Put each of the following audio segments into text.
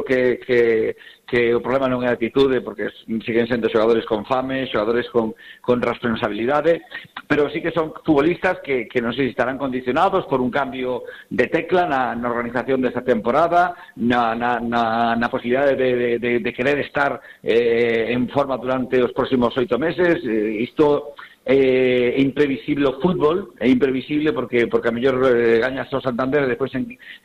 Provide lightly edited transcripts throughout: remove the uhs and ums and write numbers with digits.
que o problema non é a actitude, porque siguen sendo xogadores con fame, xogadores con responsabilidade, pero sí que son futbolistas que non sei se estarán condicionados por un cambio de tecla na organización desta temporada, na posibilidade de querer estar en forma durante os próximos 8 meses. Isto é imprevisible o fútbol, é imprevisible porque a mellor gañas o Santander e despois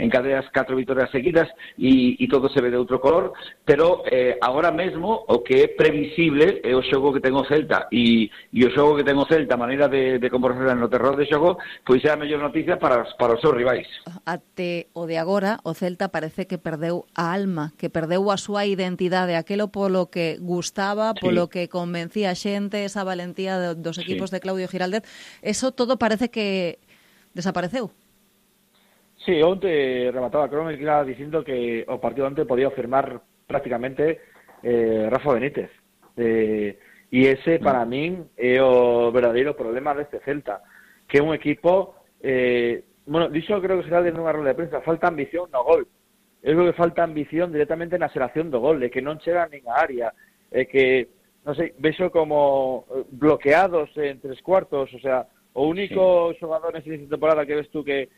encadeas 4 vitorias seguidas e todo se ve de outro color, pero agora mesmo o que é previsible é o xogo que ten o Celta e o xogo que ten o Celta, a maneira de comportarse no terror de xogo, pois é a mellor noticia para os seus rivais. Até o de agora, o Celta parece que perdeu a alma, que perdeu a súa identidade, aquelo polo que gustaba, polo que convencía a xente, esa valentía dos equipos de Claudio Giraldez, eso todo parece que desapareceu. Sí, onte remataba Crónica dicindo que o partido onte podía firmar prácticamente Rafa Benítez. E ese, para min, é o verdadeiro problema deste Celta, que é un equipo... dixo creo que Giraldez nunha rueda de prensa, falta ambición no gol. Eu creo que falta ambición directamente na xeración do gol, de que non chega nin a área, que... non sei, vexo como bloqueados en 3/4, o sea, o único xogador nesa temporada que ves tú que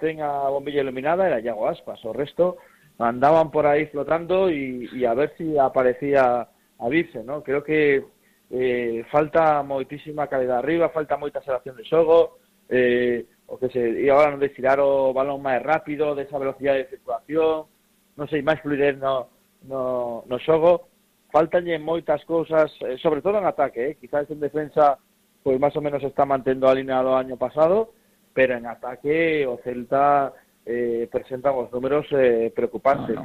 ten a bombilla iluminada era Iago Aspas, o resto andaban por aí flotando e a ver si aparecía a virse, ¿no? Creo que falta moitísima calidad arriba, falta moita xeración de xogo, e agora non de tirar o balón máis rápido, desa velocidade de circulación, non sei, máis fluidez no xogo. Faltanlle moitas cousas, sobre todo en ataque, quizás en defensa pois máis ou menos está mantendo a línea do año pasado, pero en ataque o Celta presenta uns números preocupantes.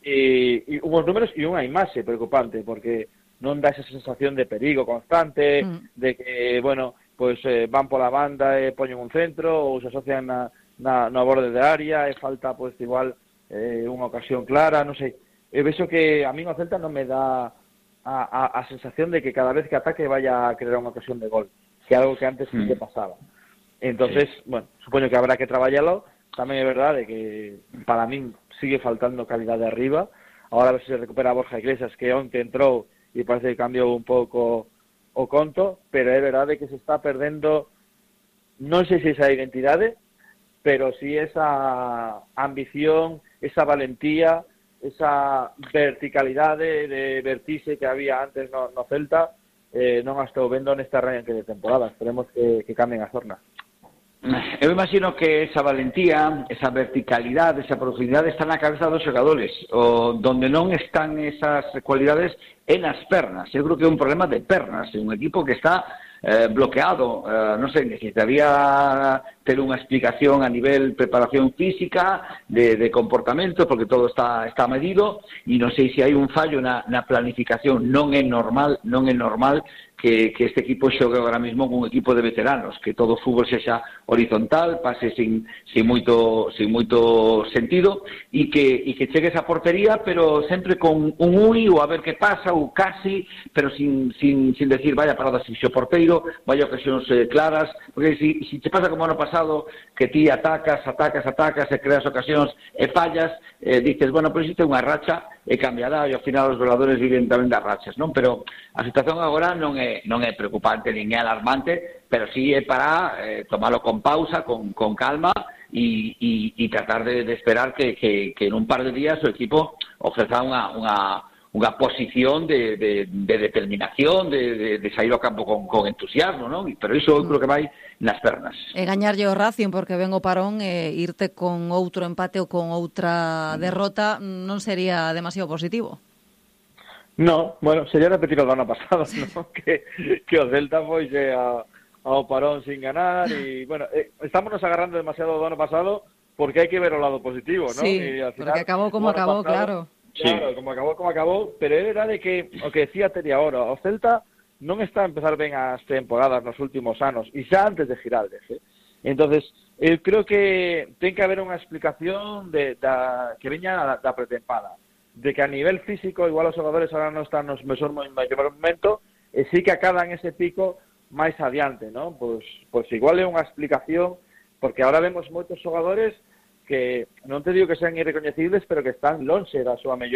E unhos números e unha imaxe preocupante, porque non dá esa sensación de perigo constante, de que, bueno, pois van pola banda e poñen un centro ou se asocian na borde de área e falta, pois, igual unha ocasión clara, non sei. Vexo que a mí o Celta non me dá a sensación de que cada vez que ataque vaya a crear unha ocasión de gol, que é algo que antes sí que pasaba. Entonces, bueno, supoño que habrá que traballalo. Tamén é verdade que para min sigue faltando calidade arriba. Ahora a ver se recupera Borja Iglesias, que onte entrou e parece que cambiou un pouco o conto, pero é verdade que se está perdendo, non sei se esa identidade, pero sí esa ambición, esa valentía, esa verticalidade de vertixe que había antes no Celta, non a estou vendo nesta arranque de temporada. Esperemos que cambien as zornas. Eu imagino que esa valentía, esa verticalidade, esa profundidade está na cabeza dos xogadores, donde non están esas cualidades é nas pernas. Eu creo que é un problema de pernas, é un equipo que está bloqueado, non sei, necesitaría ter unha explicación a nivel preparación física, de comportamento, porque todo está medido, e non sei se hai un fallo na planificación. Non é normal que este equipo xogue agora mesmo con un equipo de veteranos, que todo o fútbol sexa horizontal, pase sin moito sentido, e que chegue esa portería, pero sempre con un ui, ou a ver que pasa, ou casi, pero sin decir vaya parada sin xo porteiro, vaya ocasións claras, porque si te pasa como ano pasado, que ti atacas e creas ocasións e fallas, dices, bueno, pois isto é unha racha e cambiará, e ao final os goleadores viven tamén das rachas, non? Pero a situación agora non é preocupante nin é alarmante, pero sí é para tomarlo con pausa, con calma e tratar de esperar que en un par de días o equipo ofreza unha posición de determinación, de sair ao campo con entusiasmo, non? Pero iso eu creo que vai nas pernas. E gañarlle o Racing porque ven o parón e irte con outro empate ou con outra derrota non sería demasiado positivo. No, bueno, sería repetir o do ano pasado, ¿no? que o Celta foise ao parón sin ganar e, bueno, estámonos agarrando demasiado do ano pasado porque hai que ver o lado positivo, ¿no? Sí, y al final, porque acabou como acabou, claro. Claro, sí. como acabou, pero é verdade que o que decía Teri agora, o Celta non está a empezar ben as temporadas nos últimos anos, e xa antes de Giraldez, Entonces, eu creo que ten que haber unha explicación que veña da pretempada, de que a nivel físico igual os xogadores agora non están nos mellor momento, e sí que acadan ese pico máis adiante, non? Pois igual é unha explicación, porque agora vemos moitos xogadores que non te digo que sean irrecoñecibles, pero que están lonxe da súa mellor